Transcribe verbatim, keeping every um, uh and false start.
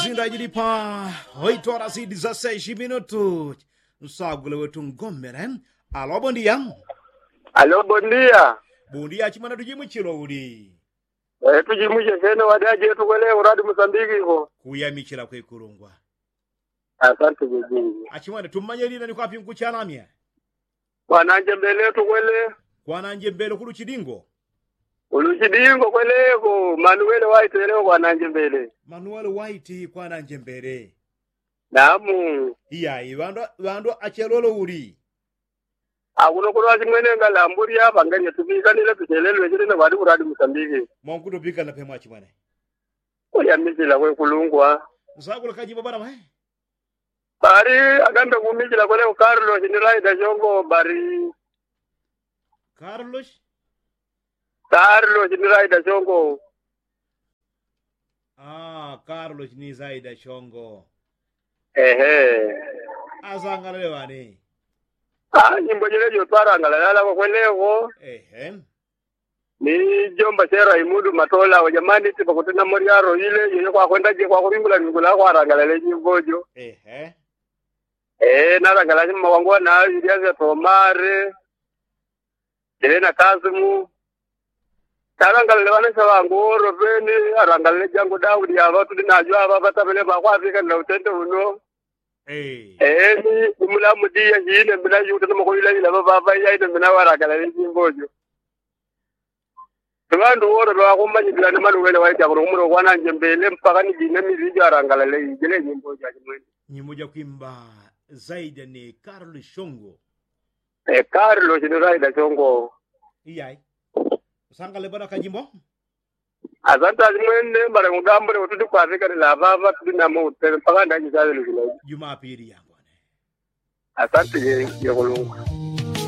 Zindajilipa oitora zidi za seji minutu. Nsagule wetu ngomele. Alo bondia. Alo bondia. Bondia chimwana tujimwichilo uli? Tujimwiche sene wadaje tukwele uradi musambiki ko. Kuyamichila kwekulungwa. Asante jejingi. Achimwana tummanye lina ni kwapi nkuchalamya? Kwananje mbele tukwele. Kwananje mbele kuluchidingo. Kuluchidingo kweleko manuwele waitweleko kwananje mbele. Manuwele waiti kwananje mbele. Namu. Iyayi ŵandu ŵandu achelolo uli? Akuno kulwachimwene ngalambuli apa ngalye tupikanile tuchelelwe chilene kwati kulwadi musambiki. Mwankutupikana pemwachimwene. Kulya misila kwekulungwa. Nsakula kajimbo bana mwe. Bali agambe kumijila kwele ku karlos ni laida shongo bali. Karlos. Karlos ni laida shongo. Karlos ni zaida shongo. Ehe. Asangalale wane. Nyimbo jile jotwarangalale alako kweleko. Ehe. Ni jomba sera imudu matola wajamani tipa kutina moryaro ile yoyo kwakwenda je kwakuringula ringula kwarangalale jimbo jo. Ehe. Ee narangalale mma wangu wana iliaza tomare. Ile na kazimu. Tarangalale wana sawangu oro peni arangalale jangu daudi ava tudi najwa ava vatavele vakwavika na utende uno. Ee ni umulamu diya hine mbina yuta na makoyila ila vavava yaine mbina warangalale jimbo jo. Ŵandu wolo ŵakumanyikila ni manuwele waitya kuno kumuloko ananjembele mpaka ni jine mili ijo arangalale ijile nyimbo ja chimwene. Nyimbo ja kwimba zaida ni karlo shongo. Karlo chino zaida shongo. Iyai. Usangale bwana kajimbo. Asante achimwene mbale kugambule kuti kwafikanila apapa tuli namo utele mpaka ndachisaŵele chino. Jumapili yangone. Asante jekulungwa.